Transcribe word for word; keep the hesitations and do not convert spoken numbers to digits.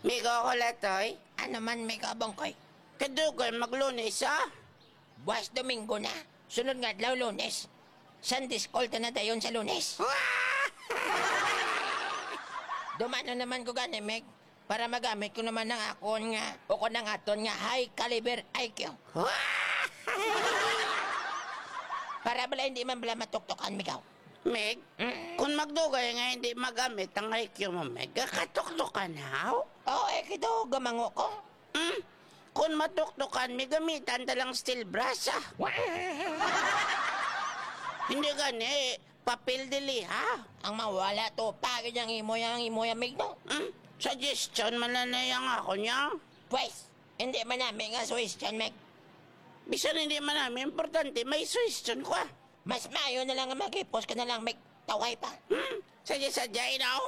Migo ko, Latoy. Ano man, Migo Bongkoy? Kadugay maglunes, ah. Buwas Domingo na. Sunod nga adlaw, Lunes. Sunday school ta na dayon sa Lunes. Dumano naman ko gani, Meg, para magamit ko naman ang akon nga, o kon ang aton nga high caliber I Q. Para bala hindi man bala matuktokan, Migaw. Meg, Mm. kung magdugay nga hindi magamit ang I Q mo, Meg, katuktokan haw? Oo, eh, kito, gamango ko. Hmm? Kung matuktokan, may gamitan ta lang steel brush, ah. Hindi gani, papel dili, ha? Ang mawala to, pagid ang imo, ang imo, ang mig, no? Hmm? Suggestion man na na yang ako niya. Pwes, hindi man nami nga suggestion, Meg. Bisan hindi man nami, importante, may suggestion ko, ah. Mas maayo na lang nga mag-ipos ka na lang, Meg. Taway pa. Hmm? Sadya-sadya, inaw.